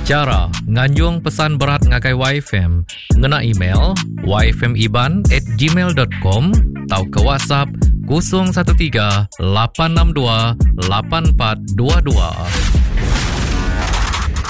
Chara nganjung pesan berat ngagai YFM ngena email yfmiban@gmail.com tauka WhatsApp 013 862 8422.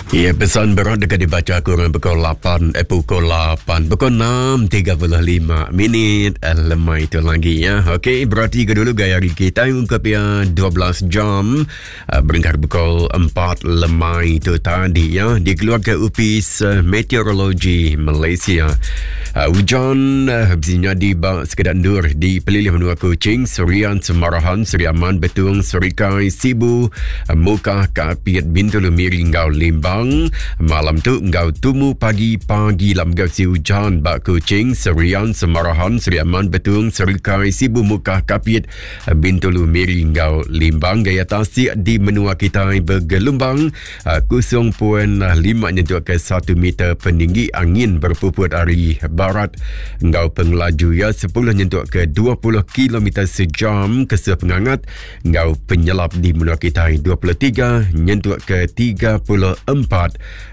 Ya, pesan berat deka dibaca kurang pukul 8, eh, pukul 8, pukul 6.35 minit eh, lemai itu lagi ya. Okey, berarti ke dulu gaya hari kita ungkap ya 12 jam eh, berengkah pukul 4 lemai itu tadi ya. Dikeluarkan Upis eh, Meteorologi Malaysia. Uh, hujan uh, bisi nyadi ba sekeda endur di pelilih menua Kuching, Serian, Semarahan, Seri Aman, Betong, Serikai, Sibu, uh, Mukah, Kapit, Bintulu, Miri enggau Limbang. Malam tu enggau tumu pagi pagi lam enggau si hujan ba Kuching, Serian, Semarahan, Seri Aman, Betong, Serikai, Sibu, Mukah, Kapit, Bintulu, Miri enggau Limbang. Gaya tasik di menua kitai begelumbang 0.5 nyentuk ke 1 meter peninggi angin berpuput ari barat enggau pengelaju iya 10 nyentuk ke 20 km sejam kesuh pengangat enggau penyelap di menua kitai 23 nyentuk ke 34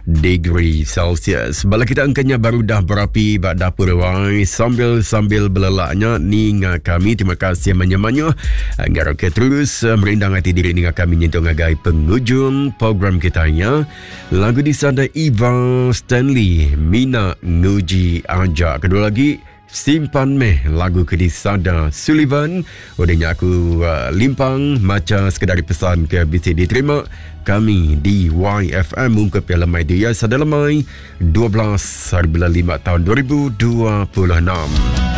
degree Celsius. Bala kita engkanya baru dah berapi ba dapur wai sambil-sambil belelaknya ninga kami. Terima kasih manya-manya. Ngarap ke terus eh, merindang ati diri ninga kami nyentuk ngagai pengujung program kita nya. Lagu disada Eva Stanley Mina Nguji Aja. Kedua lagi Simpan meh lagu ke disada Sullivan. Udah nya aku uh, limpang macha sekedar pesan ke bisi diterima kami di YFM ungkup piala lemai dia sada lemai 12 hari bulan 5 tahun 2026.